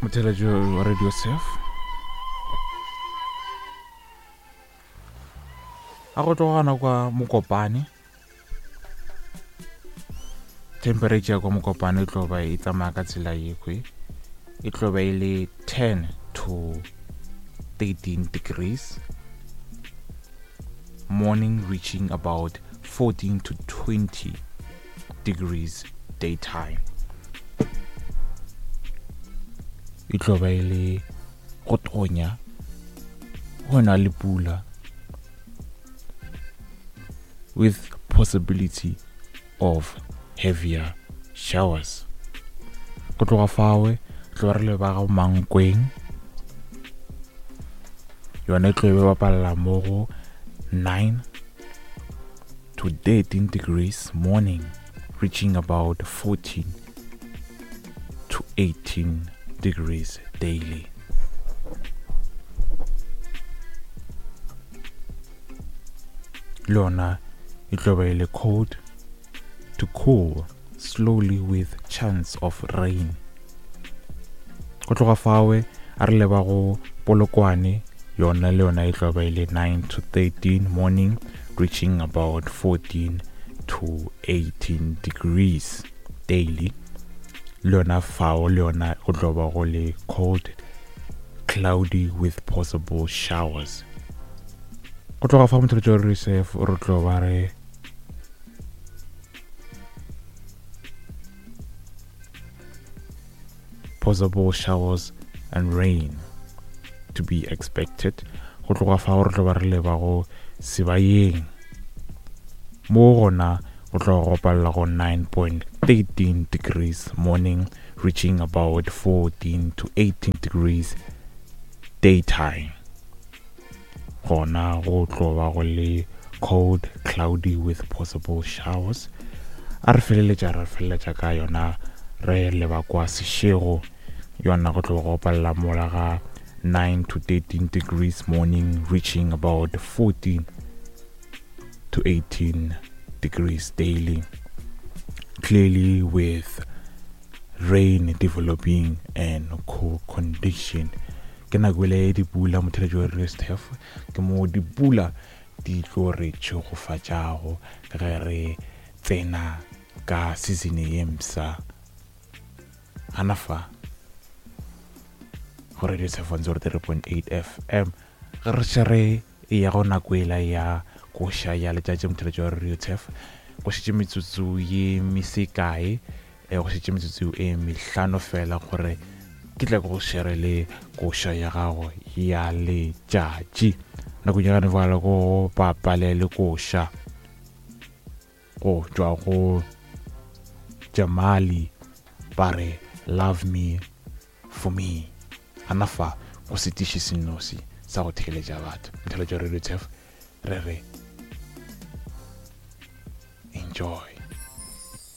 Motheletšo wa Radio Surf. A go tlogana kwa Mokopane. Temperature kwa Mokopane e tlo ba e tsamaya ka tsela yekwe. E tlo ba e le 10 to 13 degrees. Morning reaching about 14 to 20 degrees daytime. E tlo ba e le go tonya go na le pula with possibility of heavier showers. Go tloga fawe tlo re leba ga Mankweng yone e tlo be bapalela mo go 9 to 13 degrees morning reaching about 14 to 18 degrees daily. Le yona e tlo ba e le cold to cool slowly with chance of rain. Go tloga fawe a re leba go Polokwane yona le yona e tlo ba e le 9 to 13 morning reaching about 14 to 18 degrees daily. Le yona fao le yona go tlo ba go le cold cloudy with possible showers. Go tloga fa motho re re tlo ba re possible showers and rain to be expected. Go tloga fa re tlo ba re leba go Sebayeng. Mo gona go tlo go palela go 9.13 degrees morning reaching about 14 to 18 degrees daytime. Gona go tlo ba go le cold cloudy with possible showers. A re feleletša re feleletša ka yona re leba kwa Seshego yona go tlo go palela mola ga 9 to 13 degrees morning reaching about 14 to 18 degrees daily, clearly with rain developing and cool condition. Ke nako ele dipula motheletši wa Radio Stef ke mo dipula di tlo re tšhegofatšago ge re tsena ka season ye mpsha gana fa go Radio Stef 103.8 FM ge re še re e ya go nako ela ya koša ya letšatši motheletši wa Radio Turf go šetše metsotso ye mesekae e go šetše metsotso e mehlano fela gore ke tla go shere le koša ya gago ya letšatši nakong ya gane fale go bapale le koša go tšwa go Jamali ba re love me for me gana fa go setiši senosi sa go theeletša batho motheletša Radio Turf re re enjoy.